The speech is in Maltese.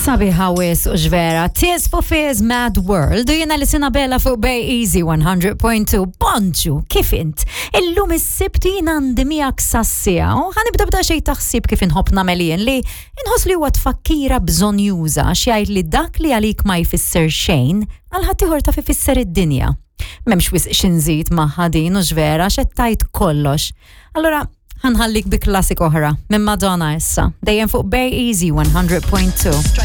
Sabiħa wisq u x'vera. Tears for Fears Mad World u jiena li sina bella fuq Bay Easy 100.2. Bonġu, kif int? Illum is-sibt jien għandi miegħek sassija u ħanibda bda xejn taħsib kif inħobb nagħmel jien li inħoss li huwa tfakkira bżonjuża għax jgħid li dak li għalik ma jfisser xejn għal ħaddieħor taf ifisser id-dinja. M'hemmx wisq xi nżid magħha din u x'vera x'qed tgħid kollox. Allura ħanħallik bi klassik oħra minn Madonna issa, dejjem fuq Bay Easy 100.2.